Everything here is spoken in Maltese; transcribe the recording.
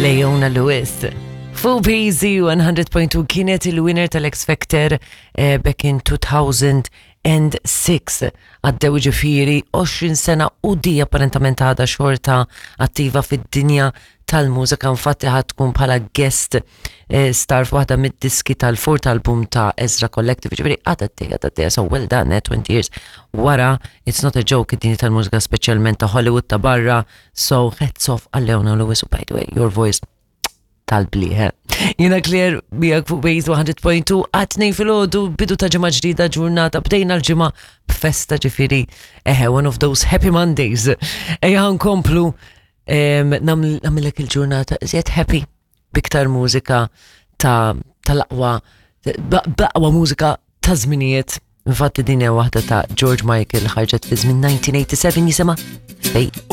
Leona Lewis. Full PZ 100.2 kienet il-winner tal-X Factor eh, back in 2006. Għaddew ġifiri 20 sena u di apparentament għadha xorta attiva fid-dinja tal-mużika infatti ħad tkun bħala guest eh, star f'waħda mid-diski tal-fourth album ta' Ezra Collective, ġifieri għadha għaddejja għadha so well done, eh, 20 years wara, it's not a joke id-dinja tal-mużika speċjalment ta' Hollywood ta' barra, so hats off għal Leona Lewis u by the way, your voice tal-bliħe. Jina Claire miegħek fuq Waze 100.2 għatnej fil-ħodu bidu ta' ġimgħa ġdida ġurnata bdejna l-ġimgħa b'festa ġifieri eħe one of those happy Mondays. Ejja nkomplu namillek il-ġurnata iżjed happy biktar mużika ta' tal-aqwa b'aqwa mużika ta' żminijiet. Infatti din hija waħda ta' George Michael ħarġet fi żmien 1987 jisimha Fate.